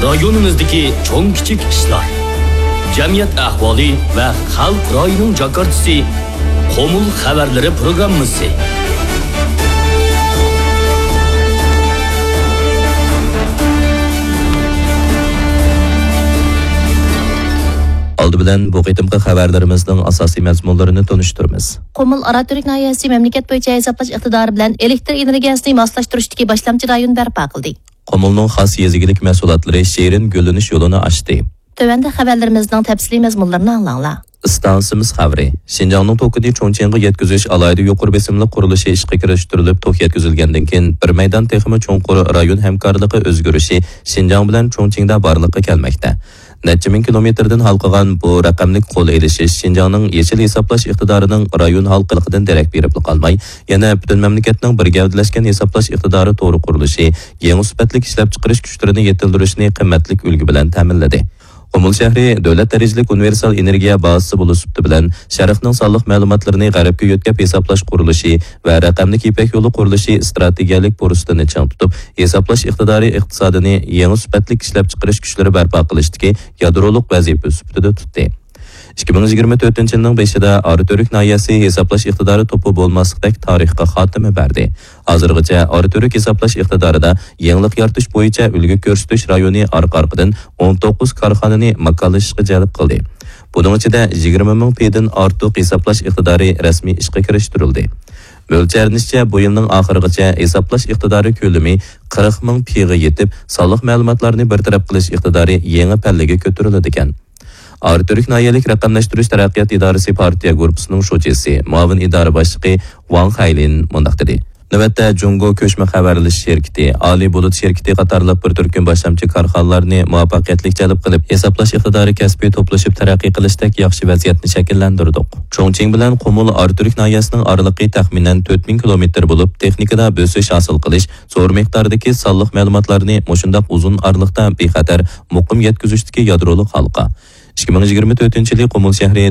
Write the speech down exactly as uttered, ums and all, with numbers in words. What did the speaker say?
رايونىمىزدىكى چوڭ كىچىك ئىشلار، جەمئىيەت ئەھۋالى ۋە خەلق رايىنىڭ جاكارتىسى، قۇمۇل خەۋەرلىرى پروگراممىسى. ئالدى بىلەن بۇ قېتىمقى خەۋەرلىرىمىزنىڭ ئاساسىي مەزمۇنلىرىنى تونۇشتۇرىمىز. قۇمۇل ئاراتۈرك ناھىيەسى مەملىكەت بويىچە ھېسابلاش ئىقتىدارى بىلەن ئېلېكتر ئېنېرگىيەسىنى ماسلاشتۇرۇشتىكى باشلامچى رايون بەرپا قىلدى. قۇمۇلنىڭ خاس يېزا ئىگىلىك مەھسۇلاتلىرى شېرىن گۈللىنىش يولىنى ئاچتى. تۆۋەندە خەۋەرلىرىمىزنىڭ تەپسىلىي مەزمۇنلىرىنى ئاڭلاڭلار. ئىستانسىمىز خەۋىرى. شىنجاڭنىڭ توكىنى چۇڭچىڭغا يەتكۈزۈش ئالاھىدە يۇقىرى بېسىملىق قۇرۇلۇشى ئىشقا كىرىشتۈرۈلۈپ، توك يەتكۈزۈلگەندىن كېيىن، بىر مەيدان تېخىمۇ چوڭقۇر رايون ھەمكارلىقى ئۆزگىرىشى شىنجاڭ بىلەن چۇڭچىڭدا بارلىققا كەلمەكتە. نەچچە مىڭ كىلومېتىردىن ھالقىغان بۇ رەقەملىك قول ئېلىشىش شىنجاڭنىڭ يېشىل ھېسابلاش ئىقتىدارىنىڭ رايون ھالقىلىقىدىن دېرەك بېرىپلا قالماي، يەنە پۈتۈن مەملىكەتنىڭ بىر گەۋدىلەشكەن ھېسابلاش ئىقتىدارى تورى قۇرۇلۇشى، يېڭى سۈپەتلىك ئىشلەپچىقىرىش كۈچلىرىنى يېتىلدۈرۈشنى قىممەتلىك ئۈلگە بىلەن تەمىنلىدى. قۇمۇل شەھىرى دۆلەت دەرىجىلىك ئۇنىۋېرسال ئېنېرگىيە بازىسى بولۇش سۈپىتى بىلەن، شەرقنىڭ سانلىق مەلۇماتلىرىنى غەربكە يۆتكەپ ھېسابلاش قۇرۇلۇشى ۋە رەقەملىك يىپەك يولى قۇرۇلۇشى ئىستراتېگىيەلىك پۇرسىتىنى چىڭ تۇتۇپ، ھېسابلاش ئىقتىدارى ئىقتىسادىنى يېڭى سۈپەتلىك ئىشلەپچىقىرىش كۈچلىرى بەرپا قىلىشتىكى يادرولۇق ۋەزىپە سۈپىتىدە تۇتتى. ئىككى مىڭ يىگىرمە تۆتىنچى يىلنىڭ بېشىدا ئاراتۈرك ناھىيەسى ھېسابلاش ئىقتىدارى توپى بولماسلىقتەك تارىخقا خاتىمە بەردى. ھازىرغىچە ئاراتۈرك ھېسابلاش ئىقتىدارىدا يېڭىلىق يارىتىش بويىچە ئۈلگە كۆرسىتىش رايونى ئارقا-ئارقىدىن ئون توققۇز كارخانىنى ماكانلىشىشقا جەلپ قىلدى. بۇنىڭ ئىچىدە يىگىرمە مىڭ پىدىن ئارتۇق ھېسابلاش ئىقتىدارى رەسمىي ئىشقا كىرىشتۈرۈلدى. مۆلچەرلىنىشىچە، بۇ يىلنىڭ ئاخىرىغىچە ھېسابلاش ئىقتىدارى كۆلىمى قىرىق مىڭ پىغا يېتىپ، سانلىق مەلۇماتلارنى بىر تەرەپ قىلىش ئىقتىدارى يېڭى پەللىگە كۆتۈرۈلىدىكەن. ئاراتۈرك ناھىيەلىك رەقەملەشتۈرۈش تەرەققىيات ئىدارىسى پارتىيە گۇرۇپپىسىنىڭ شۇجىسى، مۇئاۋىن ئىدارە باشلىقى ۋاڭ خەيلىن مۇنداق دېدى. نۆۋەتتە جۇڭگو كۆچمە خەۋەرلىشىش شىركىتى، ئالىي بۇلۇت شىركىتى قاتارلىق بىر تۈركۈم باشلامچى كارخانىلارنى مۇۋەپپەقىيەتلىك جەلپ قىلىپ، ھېسابلاش ئىقتىدارى كەسپى توپلىشىپ تەرەققىي قىلىشتەك ياخشى ۋەزىيەتنى شەكىللەندۈردۇق. چۇڭچىڭ بىلەن قۇمۇل ئاراتۈرك ناھىيەسىنىڭ ئارىلىقى تەخمىنەن تۆت مىڭ كىلومېتىر بولۇپ، تېخنىكىدا بۆسۈش ھاسىل قىلىش، زور مىقداردىكى سانلىق مەلۇماتلارنى مۇشۇنداق ئۇزۇن ئارىلىقتا بىخەتەر، مۇقىم يەتكۈزۈشتىكى يادرولۇق ھالقا. ئىككى مىڭ يىگىرمە تۆتىنچى يىلى قۇمۇل شەھىرى